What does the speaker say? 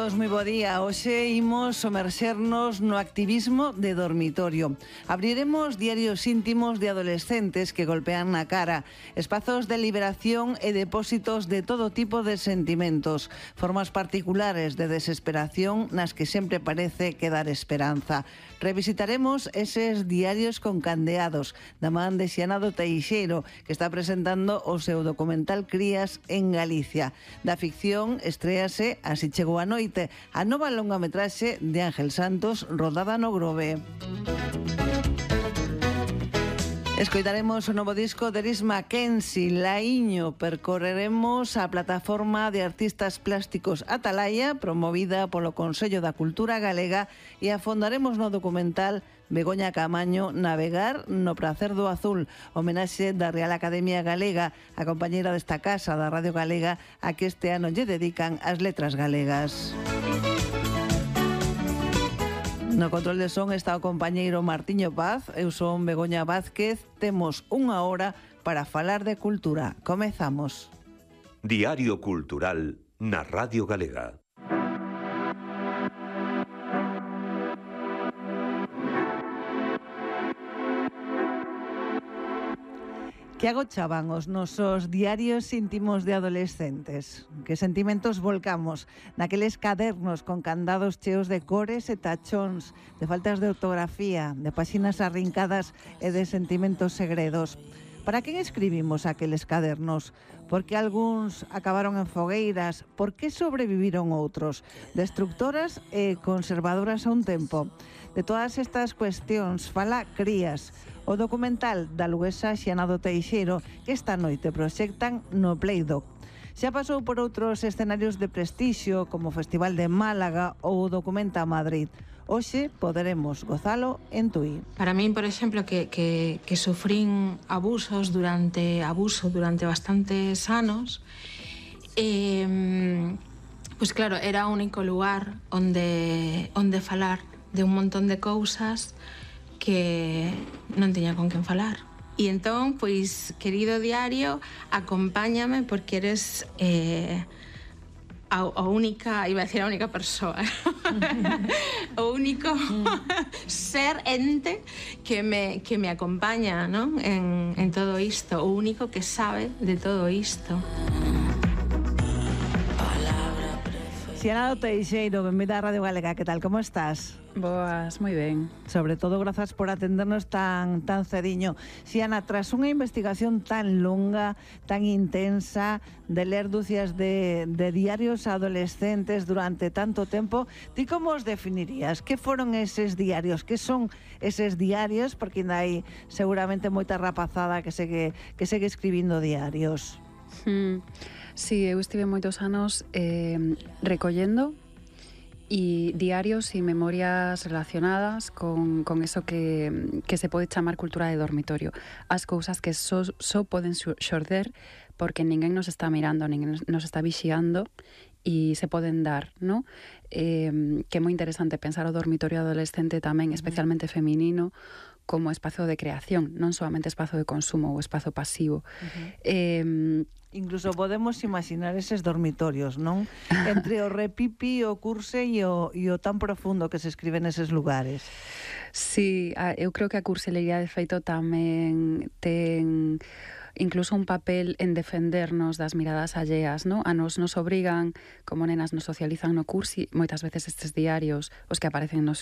todos, moi bo día. Hoxe imos somerxernos no activismo de dormitorio. Abriremos diarios íntimos de adolescentes que golpean na cara, espazos de liberación e depósitos de todo tipo de sentimentos, formas particulares de desesperación nas que sempre parece quedar esperanza. Revisitaremos eses diarios con candeados da man de Xianado Teixeiro, que está presentando o seu documental Crías en Galicia. Da ficción estréase Así chegou a noite, a nova longametraxe de Ángel Santos rodada no Grove. Escoitaremos o novo disco de Eris Mackenzie, Laíño. Percorreremos a plataforma de artistas plásticos Atalaya, promovida polo Consello da Cultura Galega, e afondaremos no documental Begoña Camaño, Navegar no pracer do azul, homenaxe da Real Academia Galega, a compañeira desta casa da Radio Galega, a que este ano lle dedican as letras galegas. No control de son está o compañeiro Martiño Paz, eu son Begoña Vázquez. Temos unha hora para falar de cultura. Comezamos. Diario Cultural na Radio Galega. Que agochaban os nosos diarios íntimos de adolescentes? Que sentimentos volcamos naqueles cadernos con candados cheos de cores e tachóns, de faltas de ortografía, de páxinas arrincadas e de sentimentos segredos? Para quen escribimos aqueles cadernos? Por que algúns acabaron en fogueiras? Por que sobreviviron outros? Destructoras e conservadoras a un tempo. De todas estas cuestións fala Crías, o documental da luguesa Xianado Teixeiro, que esta noite proxectan no Playdoc. Xa pasou por outros escenarios de prestixio, como o Festival de Málaga ou o Documenta Madrid. Hoxe poderemos gozalo en Tui. Para min, por exemplo, que sufrín abuso durante bastantes anos, pois claro, era o único lugar onde falar de un montón de cousas que non tiña con quen falar. E entón, pois, querido diario, acompáñame porque eres a única, iba a decir a única persoa, o único ser, ente que me acompaña, ¿no? en todo isto, o único que sabe de todo isto. Xianado Teixeiro, benvida a Radio Galega, que tal, como estás? Boas, moi ben. Sobre todo, grazas por atendernos tan cediño. Xiana, tras unha investigación tan longa, tan intensa, de ler dúcias de diarios adolescentes durante tanto tempo, ti como os definirías? Que foron eses diarios? Que son eses diarios? Porque ainda hai seguramente moita rapazada que segue escribindo diarios. Sí, eu estive moitos anos recollendo e diarios e memorias relacionadas con eso que se pode chamar cultura de dormitorio. As cousas que só poden xorder porque ninguén nos está mirando, ninguén nos está vixiando e se poden dar, ¿no? Que é moi interesante pensar o dormitorio adolescente tamén, especialmente feminino, como espazo de creación, non solamente espazo de consumo ou espazo pasivo. Incluso podemos imaginar eses dormitorios, non? Entre o repipi, o curse e o tan profundo que se escribe neses lugares. Sí, eu creo que a curselería de feito tamén ten incluso un papel en defendernos das miradas alleas, ¿no? A nos obrigan, como nenas nos socializan no cursi, moitas veces estes diarios, os que aparecen nos